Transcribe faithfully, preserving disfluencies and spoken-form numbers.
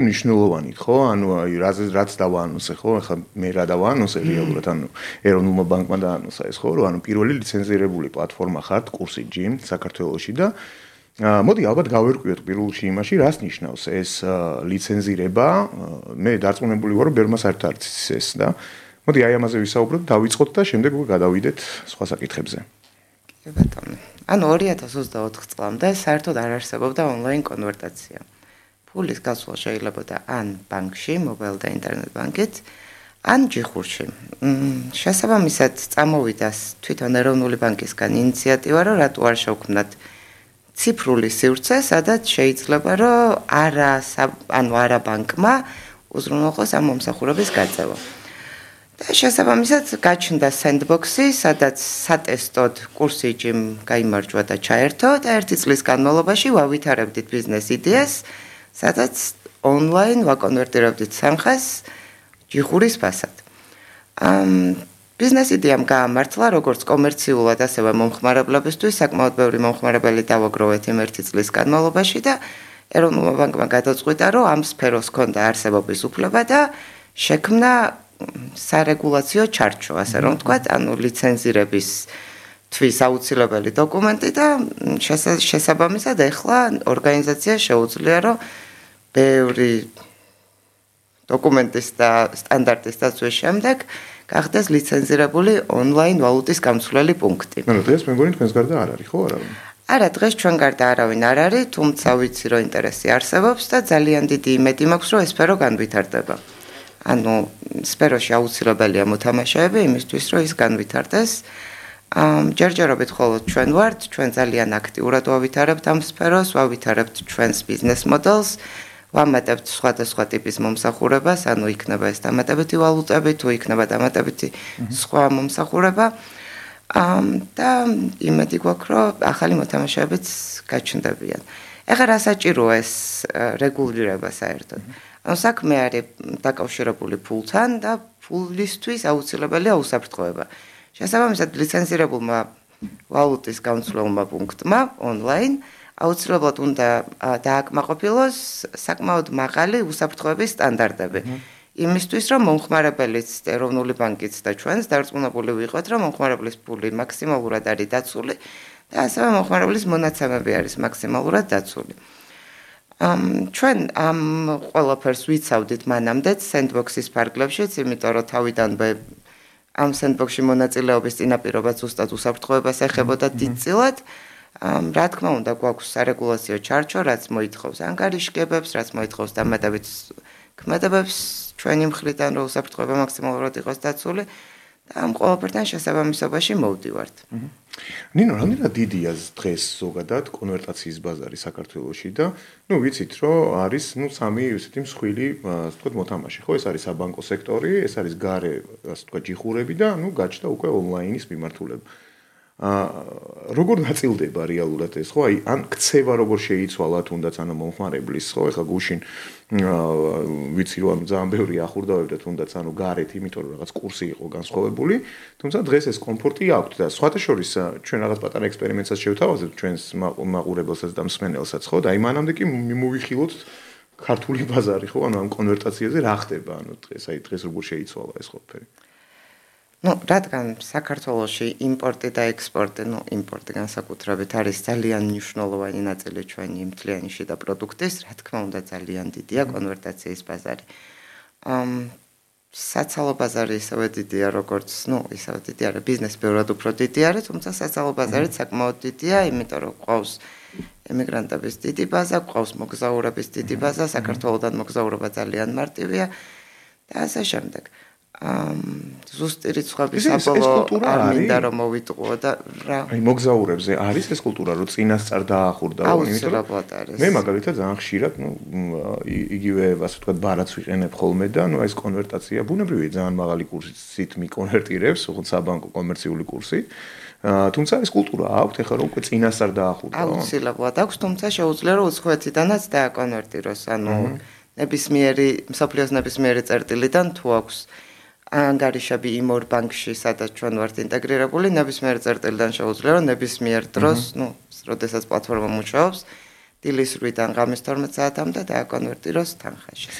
ნიშნულოვანით, ხო? ანუ აი რაც რაც დავაანონსე, ხო? ახლა მე რა დავაანონსე რეალურად, ანუ ეროვნულმა ბანკმა დაანონსა ეს, ხო, რომ ანუ პირველი ლიცენზირებული პლატფორმა ხართ კურსი ჯიმ საქართველოში და მოდი ალბათ გავერკვიოთ პირველში იმაში, რას ნიშნავს ეს ლიცენზირება. მე დარწმუნებული ვარ, რომ ბერმას არ არის ეს და მოდი აი ამაზე ვისაუბროთ, დავიწყოთ და შემდეგ უკვე გადავიდეთ სხვა საკითხებზე. კი ბატონო. ანუ ორი ათას ოცდაოთხ წლამდე საერთოდ არ არსებობდა ონლაინ კონვერტაცია. ფულის გასვლა შეიძლებოდა ან ბანკში, მობაილ და ინტერნეტ ბანკით, ან ჯიხურში. შესაბამისად, წამოვიდა თვითონ ეროვნული ბანკისგან ინიციატივა, რომ რატო არ შევქმნათ ციფრული სივრცე, სადაც შეიძლება, რომ არა, ანუ არა ბანკმა უზრუნველყოს ამ მომსახურების გაწევა. და შესაბამისად, გაჩნდა sandbox-ი, სადაც სატესტოდ კურსი ჯიმ გაიმარჯვა და ჩაერთო და ერთი წლის განმავლობაში ვავითარებდით ბიზნეს იდეას, სადაც ონლაინ ვაკონვერტირებდით სამხას ჯიხურის ფასად. ბიზნეს იდეამ გაამართლა როგორც კომერციულად, ასევე მომხმარებლებისთვის, საკმაოდ ბევრი მომხმარებელი დავაგროვეთ იმ ერთი წლის განმავლობაში და ეროვნულმა ბანკმა გადაწყვიტა, რომ ამ სფეროს ჰქონდა არსებობის უფლება და შექმნა სარეგულაციო ჩარჩო, ასე რომ ვთქვათ, ანუ ლიცენზირების თვის აუცილებელი დოკუმენტი და შესაბამისად ეხლა ორგანიზაციას შეუძლია, რომ ბევრი დოკუმენტის და სტანდარტის დაცვის შემდეგ გახდეს ლიცენზირებული ონლაინ ვალუტის გამცვლელი პუნქტი. ანუ დღეს მე მგონი თქვენს გარდა არ არის, ხო, არავინ? არა, დღეს ჩვენ გარდა არავინ არ არის, თუმცა ვიცი, რომ ინტერესი არსებობს და ძალიან დიდი იმედი მაქვს, რომ ეს სფერო განვითარდება. ანუ სფეროში აუცილებელია მოთამაშეები იმისთვის, რომ ის განვითარდეს. ჯერჯერობით მხოლოდ ჩვენ ვართ, ჩვენ ძალიან აქტიურად ვავითარებთ ამ სფეროს, ვავითარებთ ჩვენს ბიზნეს მოდელს, ვამატებთ სხვადასხვა ტიპის მომსახურებას, ანუ იქნება ეს დამატებითი ვალუტები, თუ იქნება დამატებითი სხვა მომსახურება. და იმედი გვაქვს, რომ ახალი მოთამაშეებიც გაჩნდებიან. ეხლა რა საჭიროა ეს რეგულირება საერთოდ? ანუ საქმე არის დაკავშირებული ფულთან და ფულისთვის აუცილებელია უსაფრთხოება. შესაბამისად, ლიცენზირებულმა ვალუტის გამცვლელმა პუნქტმა ონლაინ აუცილებლად უნდა დააკმაყოფილოს საკმაოდ მაღალი უსაფრთხოების სტანდარტები. იმისთვის, რომ მომხმარებელიც, ეროვნული ბანკიც და ჩვენს დარწმუნებული ვიყოთ, რომ მომხმარებლის ფული მაქსიმალურად არის დაცული და ასევე მომხმარებლის მონაცემები არის მაქსიმალურად დაცული. ჩვენ ამ ყველაფერს ვიცავდით მანამდეც sandbox-ის ფარგლებშიც, იმიტომ რომ თავიდანვე ამ sandbox-ში მონაწილეობის წინაპირობა ზუსტად უსაფრთხოებას ეხებოდა დიდწილად. რა თქმა უნდა, გვაქვს სარეგულაციო ჩარჩო, რაც მოითხოვს ანგარიშგებებს, რაც მოითხოვს დამატებით ქმედებებს ჩვენი მხრიდან, რომ უსაფრთხოება მაქსიმალურად იყოს დაცული და ამ ყველაფერთან შესაბამისობაში მოვდივართ. ნინო, რამდენად დიდია დღეს ზოგადად კონვერტაციის ბაზარი საქართველოში და ნუ ვიცით, რომ არის ნუ სამი ესეთი მსხვილი, ასე ვთქვათ, მოთამაშე, ხო? ეს არის საბანკო სექტორი, ეს არის გარე, ასე ვთქვათ, ჯიხურები და ნუ გაჩნდა უკვე ონლაინის მიმართულება. როგორ ნაწილდება რეალურად ეს, ხო? აი, ან ქცევა როგორ შეიცვალა თუნდაც ანუ მომხმარებლის, ხო? ეხლა გუშინ ვიცი რომ ძალიან ბევრი ახურდავებდა თუნდაც ანუ გარეთ, იმიტომ რომ რაღაც კურსი იყო განსხვავებული, თუმცა დღეს ეს კომფორტი აქვს და სხვათა შორის ჩვენ რაღაც პატარა ექსპერიმენტსაც შევთავაზებთ ჩვენს მაყურებელსაც და მსმენელსაც, ხო? და აი მანამდე კი მივიხილოთ ქართული ბაზარი, ხო? ანუ ამ კონვერტაციაზე რა ხდება, ანუ დღეს აი დღეს როგორ შეიცვალა ეს ყველაფერი? ну, რადგან საქართველოში იმპორტი და ექსპორტი, ну, იმპორტი განსაკუთრებით არის ძალიან მნიშვნელოვანი ნაწილი ჩვენი მთლიანი შიდა პროდუქტის, რა თქმა უნდა, ძალიან დიდია კონვერტაციის ბაზარი. ამ საცალო ბაზარი ისევე დიდია, როგორც, ну, ისევე დიდი არის, ბიზნესი ბევრად უფრო დიდი არის, თუმცა საცალო ბაზარიც საკმაოდ დიდია, იმიტომ რომ ყავს ემიგრანტების დიდი ბაზა, ყავს მოგზაურების დიდი ბაზა, საქართველოდან მოგზაურობა ძალიან მარტივია და ასე შემდეგ. ზუსტი რიცხვების საბოლოო არ მინდა რომ მოვიტყუო და რა აი მოგზაურებზე არის ეს კულტურა რომ წინასწარ დაახურდა აუცილებლად არის მე მაგალითად ძალიან ხშირად ნუ იგივე ასე ვთქვათ ბარათს ვიყენებ ხოლმე და ნუ ეს კონვერტაცია ბუნებრივია ძალიან მაღალი კურსით მიკონვერტირებს უხოთ საბანკო კომერციული კურსი თუმცა ეს კულტურა აქვს ეხლა რომ უკვე წინასწარ დაახურდა აუცილებლად აქვს თუმცა შეუძლია რომ უცხოეთიდანაც დააკონვერტიროს ანუ ნებისმიერი მსოფლიოს ნებისმიერი წერტილიდან თუ აქვს ანგარიშები იმ ორ ბანკში, სადაც ჩვენ ვართ ინტეგრირებული, ნებისმიერ წერტილიდან შეუძლია, რომ ნებისმიერ დროს, ну, როდესაც პლატფორმა მუშაობს, დილის ორი-დან ღამის თორმეტ საათამდე დააკონვერტიროს თანხაში.